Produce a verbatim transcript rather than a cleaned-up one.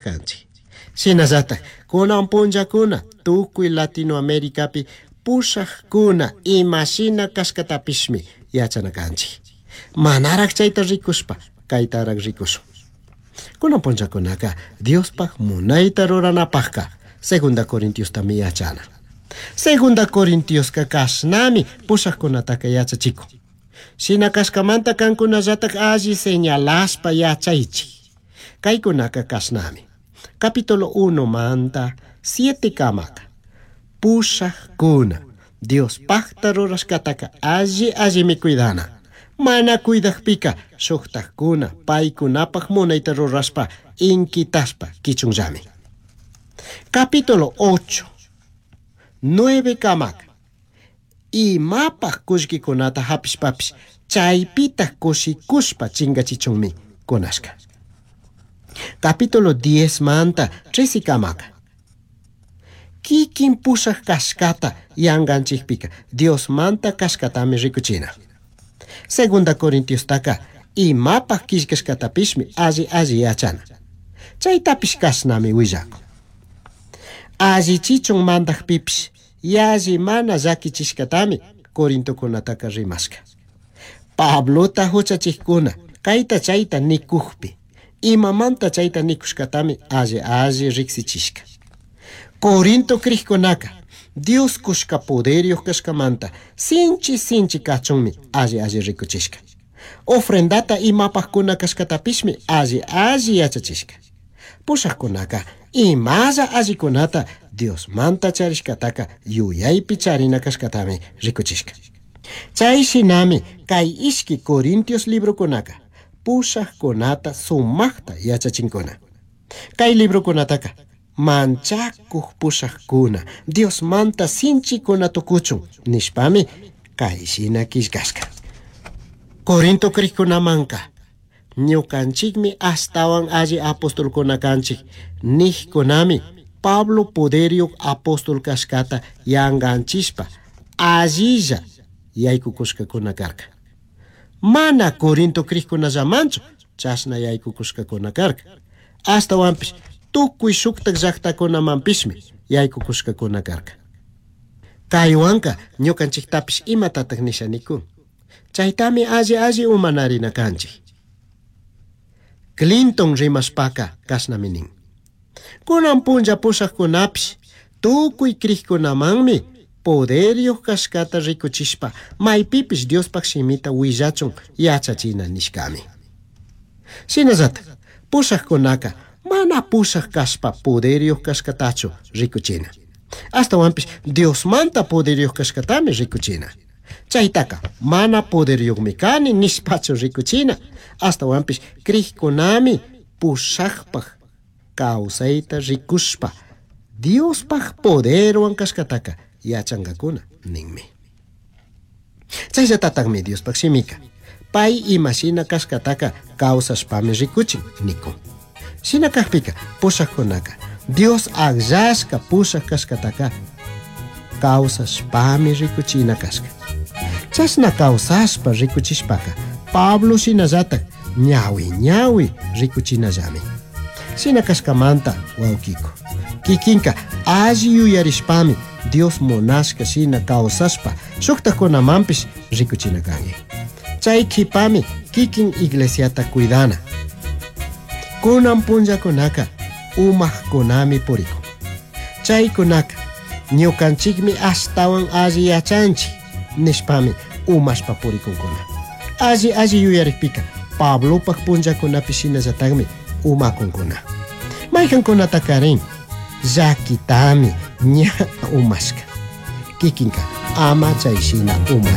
Kanchik. Shinallatak kunan punllakuna tukuy Latinoamericapi pushakuna imashina kashkatapishmi yachana kanchik. Manarak chayta rikushpa kaytarak rikushun. Kunan punllakunaka Diospaj munayta ruranapajka Segunda Corintiostami yachana. Segunda Corintioska kashnami pushakkunataka yachachikun. Shina kashkamanta kankunallatak alli señalashpa yachaychik. Kaykunaka kashnami. Capítulo uno manta siete kamaka. Pushakuna Diospajta rurashkataka alli allimi cuidana. Mana cuidajpika shuktajkuna paykunapaj munayta rurashpa inkitaspa kichunllami. Capítulo ocho, nueve kamaka. Imapaj kullkikunata hapishpapish chaypitaj kushikushpa chingachichunmi kunashka. Capítulo diez manta trece kamaka. Kikin pushaj kashkata yanganchikpika Dios manta kashkatami rikuchina. Segunda Corintiostaka imapaj killkashkatapishmi alli alli yachana. Chaytapish kashnami willakun. Allichichun mandajpipish yalli mana llakichishkatami Corintokunataka rimashka. Pablota huchachikkuna kayta chayta nikukpi imamanta chayta nikushkatami alli alli riksichishka. Corinto krikkunaka Dios kushka poderyuq kashkamanta sinchi sinchi kachunmi alli alli rikuchishka. Ofrendata imapajkuna kashkatapishmi alli alli yachachishka. Pushajkunaka imalla allikunata Diosmanta charishkataka yuyaypi charina kashkatami rikuchishka. Chay shinami kay ishki Corintios librokunaka pushajkunata sumaqta yachachinkuna. Kay librokunataka manchakuq pushajkuna Diosmanta sinchikuna tukuchun nishpami kay shina killkashka. Corinto krikkunamanka ñukanchikmi ashtawan alli apostolkuna kanchik nijkunami Pablo poderyuq apóstol kashkata yanganchishpa allilla yaykukushkakuna karka. Mana Corinto krikkunallamanchu chashna yaykukushkakuna karka. Ashtawanpish tukuy shuktak llaqtakunamanpishmi yaykukushkakuna karka. Kaywanka ñukanchiktapish imatatak nisha nikun. Chaytami alli alli umanarina kanchik. Clinton rimashpaka kashnami nin. Kunan punlla pushakkunapish tukuy krikkunamanmi poderyuq kashkata rikuchishpa maypipish Diospaj shimita willachun yachachina nishkami. Shinallatak pushakkunaka mana pushak kashpa poderyuq kashkatachu rikuchina. Ashtawanpish Diosmanta poderyuq kashkatami rikuchina. Chaytaka mana poderyuqmi kani nishpachu rikuchina. Ashtawanpish krikkunami pushakpaj kawsayta rikushpa Diospaj poderwan kashkataka yachankakuna ninmi. Chayllatataqmi Diospaj shimika pay imashina kashkataka kawsashpami rikuchin nikun. Shina kajpika pushakkunaka Dios akllashka pushak kashkataka kawsashpami rikuchina kashka. Chashna kawsashpa rikuchishpaka Pablo shinallatak ñawi ñawi rikuchinallami. Shina kashkamanta wawkiko kikinka alli yuyarishpami Dios munashka shina kawsashpa shuktakunamanpish rikuchina kanki. Chay kipami kikin iglesiata cuidana. Kunan punllakunaka umajkunami purikun. Chaykunaka ñukanchikmi ashtawan alli yachanchik nishpami umashpa purikunkuna. Alli alli yuyarikpika Pablopaj punllakunapi shinallatakmi umakunkuna. Maykankunatakarin llakitami ña umashka. Kikinka ama chay shina umashka.